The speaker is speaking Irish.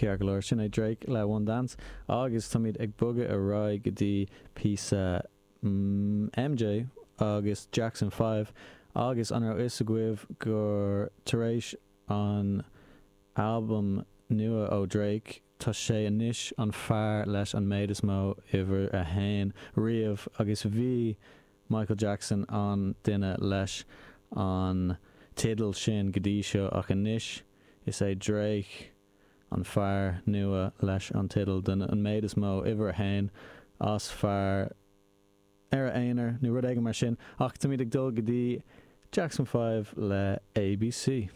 Ceart go leor, sin é Drake le One Dance agus táimid ag bogadh ar aghaidh go dtí píosa MJ agus Jackson 5 agus an raibh fhios agaibh gur tar éis an albam nua ó Drake tá sé anois an fear leis an méid is mó uimhir a haon riamh agus bhí Michael Jackson an duine leis an teideal sin go dtí seo ach anois is é Drake an fear nua leis an teideal don an méid is mó uimhir a haon as fear ar a aonar nó rud éigin mar sin ach táimid ag dul go dtí Jackson 5 le ABC.